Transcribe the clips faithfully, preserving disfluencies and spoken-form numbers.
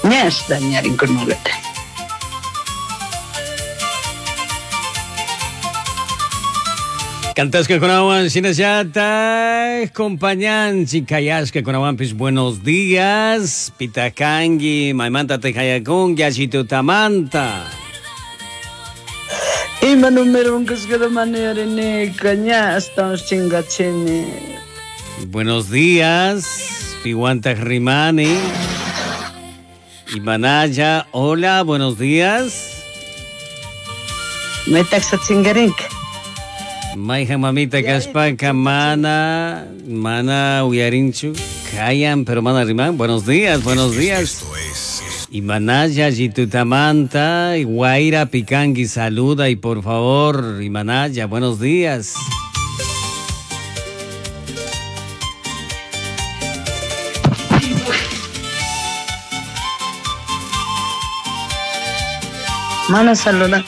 Ñash dañarinkunulata. Cantasca kunawan shinallata compañanchi kayashka kunawanpis buenos días pitakangi maymanta tejayakungi allitutamanta. Ima número unkusqata ña hasta chingachini. Buenos días piwantaq rimani. Imanaya, hola, buenos días. Maytaqsa chingarinka. Mayja mamita kashpaka mana, mana uyarinchu, kayan, pero mana riman. Buenos días, buenos días. Imanaya, Yitutamanta, Guaira Picangi, saluda y por favor, Imanaya, buenos días. Mana saluda.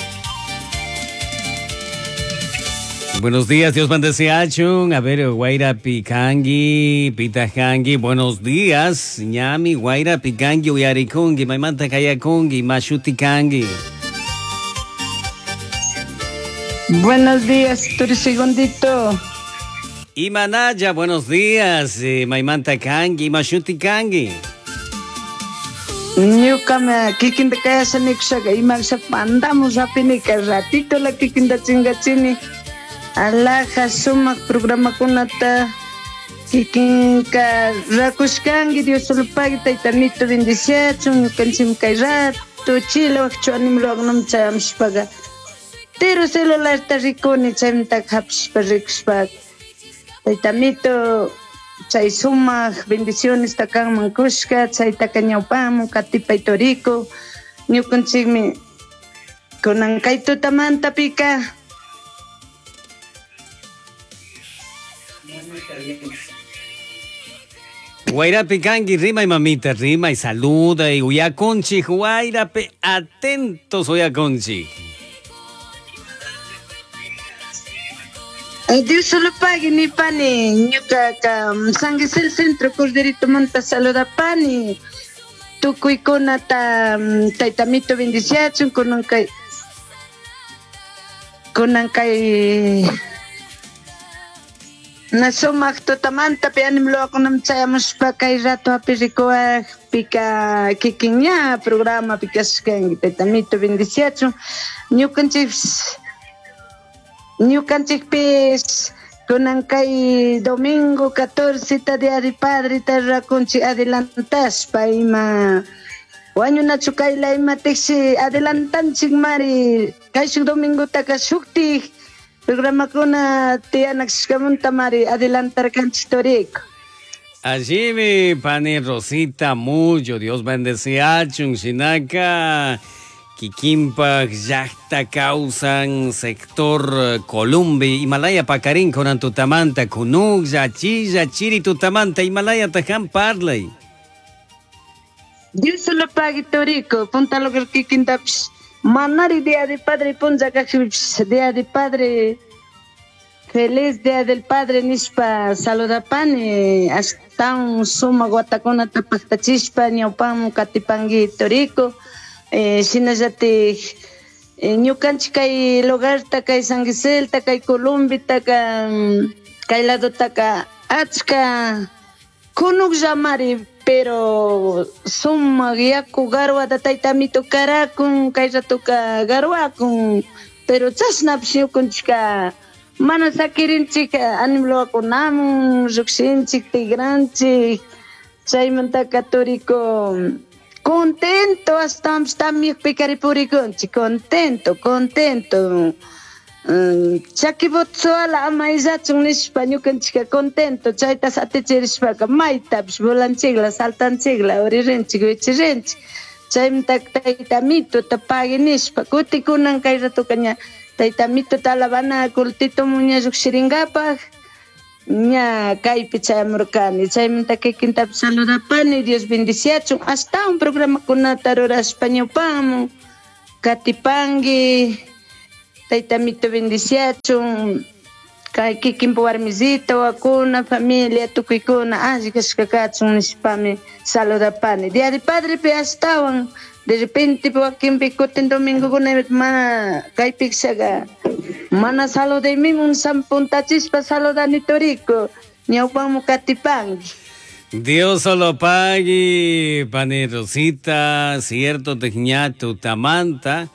Buenos días, Dios bendice achun. A ver, Guaira Picangi, Pitajangi, buenos días. Ñami, Guaira Picangi, Uyarikungi, Maimanta Kayakungi, Mashutikangi. Buenos días, Turi Segundito. Imanaya, buenos días, eh, Maimanta Kangi, Mashutikangi. Ñuka kikinta kayasha nikushaka imaksha pandamos rapinika ratito la kikinta chingachini. Alaja sumaq programakunata kikinka rakushkanki Dios solo pagui taytamito bendiciachun ñukanchik kay rato chila waqchu animluwaqnam chayamushpaqa tiro celularta rikuni chaymantaka hapishpa rikushpa taytamito chay sumaq bendiciones kanman kushka chaytaka ñawpamun katipay toriko ñukanchikmi kunan kay tutamantapika. Guairapi kangi, rima y mamita, rima y saluda y uyaconchi, guairape, atentos uyaconchi. Dios solo pague ni pani, ñuka ka San Gisel Centro Corderito Monta saluda pani, tukuy kunata taytamito bendiciachun kunan kay kunan kay Nasumaq tutamanta pi animluwakunam chayamushpa kay rato api rikuwaq pika kikin ña programa pikashkanki taytamito bendiciachun ñukanchik ñukanchikpis kunan kay domingo catorce ta día de padre ta rakunchik adelantashpa ima wañunachu kayla ima tiksi adelantanchik mari kay shuk domingotaka shuktik programakuna tiyanakshkamunta mari adelantarkanchik toriko. Allí mi pani Rosita Mullo, Dios bendice achun shinaka kikinpak llaqta kawsan sector Columbi Himalaya pakarin kunan tutamanta kunuklla chilla chiri tutamanta Himalaya tajan parlay. Dios solo pague toriko, punta lo que kikintapish manari día de padre puncha kajpipish día de padre feliz día del padre nishpa saludapani ashtawan sumaq watakunata paqtachishpa ñawpaman katipanki toriko eh, shinallatik eh, ñukanchik kay lugarta kay San Giselta kay Columbitaka kay ladotaka achka kunukllamari pero sumaq yaku garwata taytamito karakun kay ratoka garwakun pero chashnapish ñukanchika mana sakirinchik animluwakunamun llukshinchik tigranchik chaymantaka toriko contento ashtawanpish tamyakpi karipurikunchik contento contento chaki botsoala ama illachun nishpa ñukanchika contento chayta atichirishpaka maytapish volanchikla saltanchikla uririnchik wichirinchik chaymantaka taytamituta pagui nishpa kutikunan kay ratoka ña taytamituta alabana cultitomun ña llukshirinkapak ña kaypi chayamurkani chaymanta kikintapish saludapani Dios bendiciachun ashtawan programakunata rurashpa ñawpamun katipanki taytamito bendiciachun Kay kikinpa warmisita wakuna familia tukuykuna alli kashka kachun nishpami saludapani. Día de Padre pi ashtawan de repente wakinpi kutin domingokuna mana kaypikshaqa mana saludaymimun sampuntachispa saludani turiku ñawpanmu katipanki. Dios solo pagui, pani Rosita, cierto, teñatu tamanta.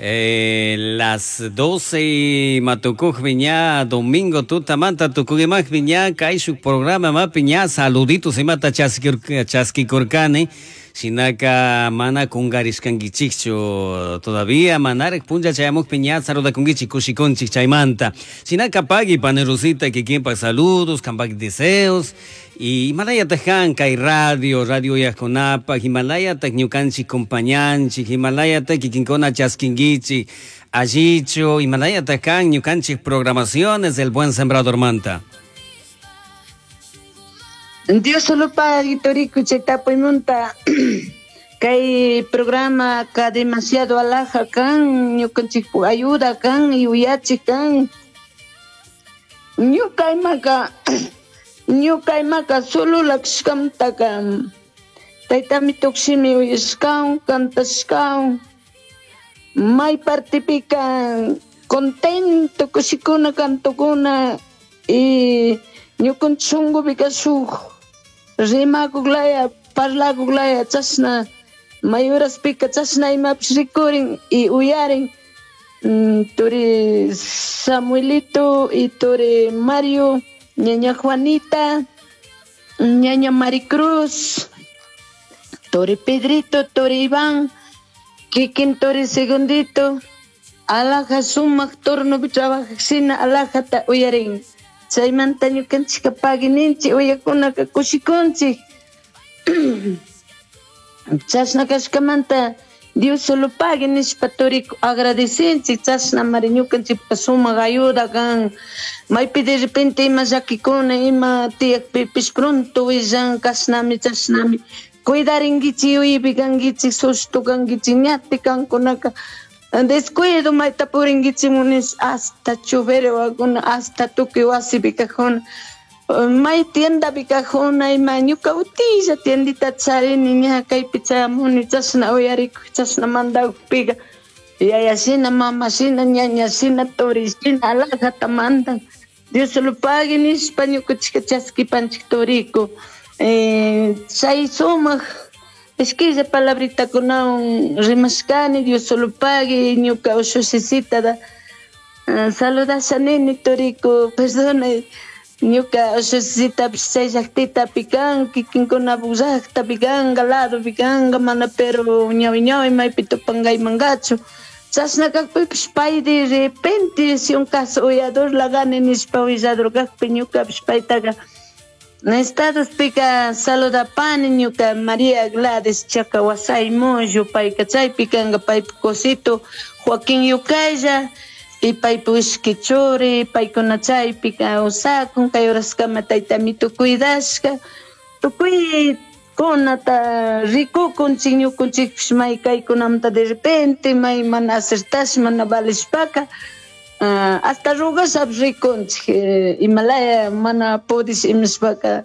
Eh, las doce matukuj viña domingo tutamanta tukugimak viña kaishuk programa mapiña saluditos imata chaskikurkani shinaka mana kungarishkankichikchu todavía manarek punlla chayamukpi ña saludakunkichik kushikunchik chaymanta shinaka pagui pani Rosita kikinpak saludos kampak deseos y Himalaya kan kay radio radio yakunapa Himalaya tak ñukanchik compañanchik Himalaya tak kikinkuna chaskinkichik allichu Himalaya kan ñukanchik programaciones del Buen Sembrador manta. Dios solo pagui turiku chay tapuymunta kay programa ka demasiado alhaja kan ñukanchik ayuda kan yuyachik kan ñuka imaka ñuka imaka solo lakshkamtaka taytami tukshimi uyashkawan kantashkawan may partipika contento kushikuna kantukuna y ñukanchik shunqupika shuk rimakuqlaya parlakuqlaya chashna may uraspika chashna imapish rikurin y uyarin turi Samuelito y turi Mario ñaña Juanita, ñaña Maricruz, turi Pedrito, turi Iván, kikin turi Segundito, alhaja sumaq turnupi trabajaqshina alhajata uyarin. Chaymanta ñukanchikka paguininchik uyakunaka kushikunchik. Chashna kashkamanta Dios solo pague nishpa turiku agradecinchik chashna mari ñukanchikpa sumaq ayuda kan maypi de repente ima llakikuna ima tiyakpipish pronto willan kashnami chashnami cuidarinkichik yuyaypi kankichik sushtu kankichik ñati kankunaka descuido mayta purinkichik munish hasta chubere wakuna hasta tukuy wasipi kajuna may tiendapi kajuna ima ñuka utilla tiendita charini ña kaypi chayamuni chashna uyarikuy chashna mandakupika yayashina mamashina ñañashina turishina alhajata mandan Dios solo pague nishpa ñukanchika chaskipanchik turiku eh, chay sumaq ishkilla palabritakunawan rimashkani Dios solo pague ñuka ushushisita da uh, saludasha nini turiku perdona ñuka ushushisitapish chay llaqtitapi kan kikinkunapak llaqtapi kanka ladopi kanka mana pero ñawi ñawi maypi tupankaymankachu chashna kakpipish pay de repente si un caso uyador lagani nishpa willador kakpi ñukapish paytaqa Estados pika saludapani ñuka María Gladys Chacawasay Moyo payka chaypi kanka paypa cosito Joaquín Yukaya y paypa ishki churi paykuna chaypi kawsakun kay horaskama taytamitu cuidashka tukuykunata rikukunchik ñukunchikpish may kaykunamanta de repente may mana acertash mana valishpaka Uh, hasta rugashapish rikunchik eh, imalaya mana pudish imashpaka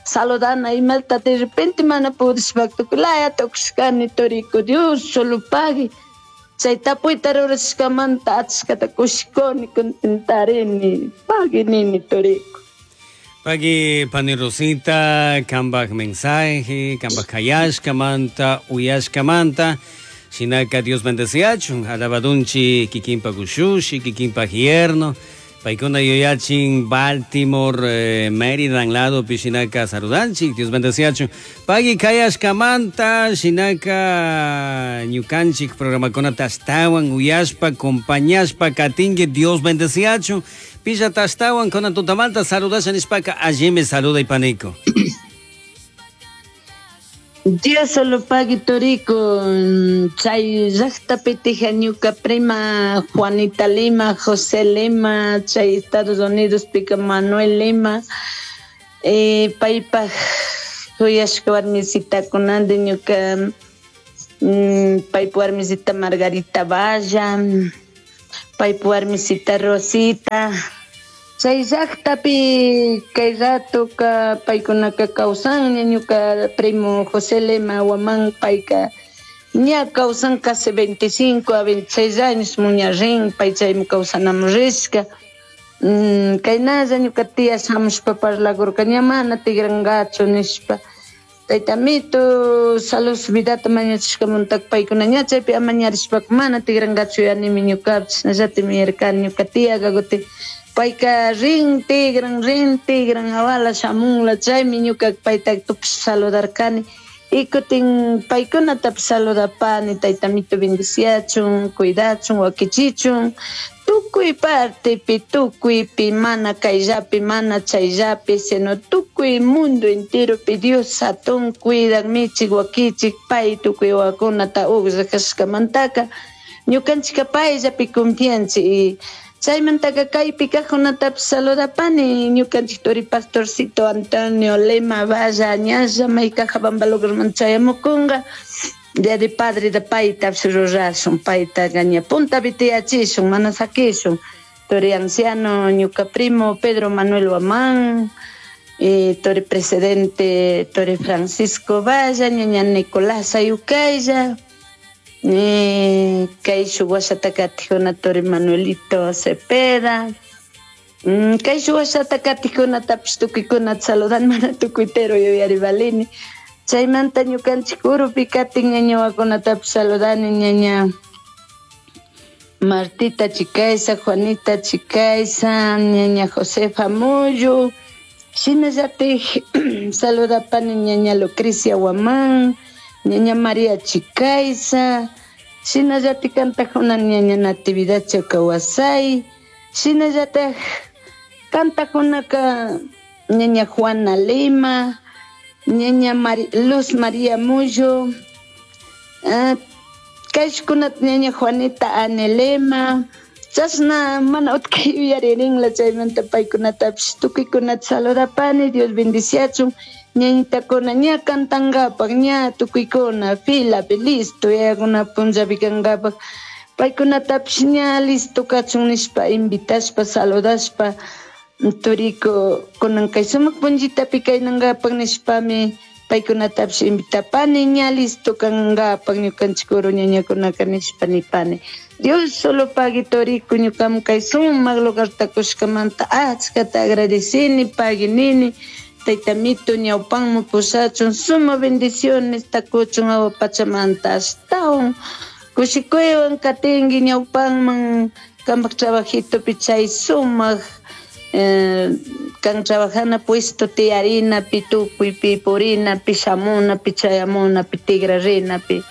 saludana imata de repente mana pudishpaka tukuylaya tukushkani turiku Dios solo pague chay tapuyta rurashkamanta achkata kushikuni contentarini pagui nini turiku. Pagui pani Rosita kambak mensaje kambak kayashkamanta uyashkamanta shinaka Dios bendeciachun alabadunchi kikinpa kushushi kikinpa yerno paykuna yuyachin Baltimore eh, Maryland lado pishinaka saludanchik Dios bendeciachun pagui kayashkamanta shinaka ñukanchik programakunata ashtawan uyashpa compañashpa katinki Dios bendeciachun pillata ashtawan kunan tutamanta saludasha nishpaka allimi saluday paniko. Dios solo pague turiku chay llaqtapi tija ñuka prima Juanita Lima, José Lima, chay Estados Unidos pika Manuel Lima, eh, paypaj kuyashka warmisitakunandi ñuka mm, paypa warmisita Margarita Valla, paypa warmisita Rosita, Chay llaqtapi kay ratoka paykunaka kawsan ñuka primo José Lema Huamán payka ña kawsan casi veinticinco a veintiséis años muña rin pay chaymi kawsanamun rishka. Mm, kaynalla ñuka tía shamushpa parlakurka ña mana tigrankachu nishpa. Taytamito salud vidata mañachishkamunta paykuna ña chaypi amañarishpaka mana tigrankachu yanimi ñukapish chashnallatimi yarkani ñuka tiyaka kutin payka rin tigran rin tigran awala shamunla chaymi ñuka payta tupash saludarkani y kutin paykunatapish saludapani taytamito bendiciachun cuidachun wakichichun tukuy partepi tukuypi mana kayllapi mana chayllapi sino tukuy mundo enteropi Dios hatun cuidan michik wakichik pay tukuy wawakunata uqllakashkamantaka ñukanchika payllapi confianchik y chaymantaka kaypi kajkunatapish saludapani ñukanchik turi pastorcito Antonio Lema Valla ñalla may Cajabamba lugarman chayamukunqa Día de Padre de paytapish rurashun paytaqa ña puntapi tiyachishun mana sakishun turi anciano ñuka primo Pedro Manuel Huamán eh, turi presidente turi Francisco Valla ñaña Nicolás Ayucaya eh, kay shuk washata katijuna turi Manuelito Cepeda mm, kay shuk washata katijkunatapish tukuykunata saludan mana tukuytero yuyarivalini chaymanta ñukanchik urupi katin ñañawakunatapish saludani ñaña Martita Chicaiza, Juanita Chicaiza, ñaña Josefa Muyu, shinallatik saludapani ñaña Lucrecia Huamán, ñaña María Chicaiza, shinallatik kantajuna ñaña Natividad Chocawasay, shinallatak kantajunaka ñaña Juana Lima, ñaña Mari, Luz María Muyo, uh, kayshkunata ñaña Juanita Anelema, chashna mana utkay yuyaririnla chaymanta paykunatapish tukuykunata saludapani Dios bendiciachun ñañitakuna ña kantankapak ña tukuykuna filapi listo yayakuna punllapi kankapak paykunatapish ña listo kachun nishpa invitashpa saludashpa turiko kunan kay sumak punllitapi kaynankapak nishpami paykunatapish invitapani ña listo kankapak ñukanchik uru ñañakunaka nishpa nipani Dios solo pagui toriko ñukaman kay sumak lugarta kushkamanta achkata agradecini pagui nini taytamito ñawpanman pushachun suma bendiciones takuchun awa pachamanta ashtawan kushikuywan katinki ñawpanman kampak trabajitopi chay sumak Eh, kan trabajana puesto tiyarinapi tukuypi purinapi shamunapi chayamunapi tigrarinapi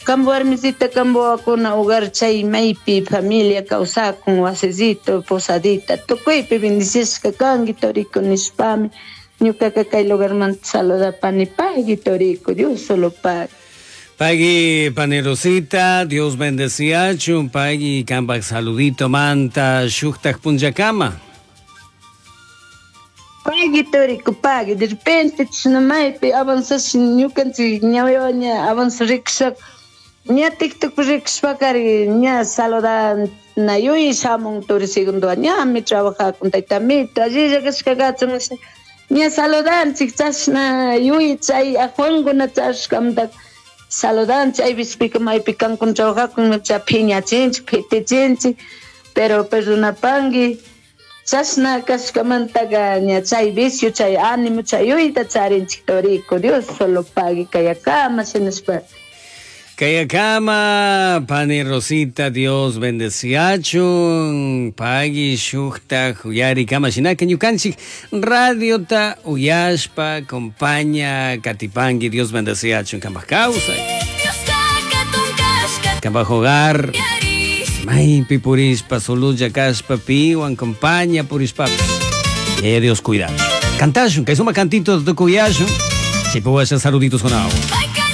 kambo warmisita kambo wawakuna hogar chay maypi familia kawsakun wasisito posadita tukuypi bendicishka kanki toriko nishpami ñukaka kay lugarmanta saludapani pagui toriko Dios solo pagui. Pagui pani Rosita, Dios bendeciachun, pagui kampak saludito manta shuktak punllakama. Pagui toriko pagui, de repente chishna maypi avanzash ñukanchik ñawiwan ña avanza rikushaka ña TikTok rikushpakari ña saludana yuy shamun turi segundo ñami trabajakun taytamito allilla kashka kachun ña saludanchik chashna yuy chay ajuankuna chashkamanta saludanchik aypispika maypi kankuna trabajakun cha phiñachinchik phitichinchik pero perdonapanki chashna kashkamantaka ña chay vicio chay ánimo chay yuyta charinchik toriko Dios solo pagui kayakama shinashpa. Kayakama pani Rosita Dios bendeciachun pagui shuktak uyarikama shinaka ñukanchik radiota uyashpa compaña katipanki Dios bendeciachun kampak kawsay kampak hogar maypi purishpa sululla kashpa piwan compaña purishpapish eh, Dios cuida. Cantashun, kay suma cantito tukuyashun chaypi washa saluditos con agua.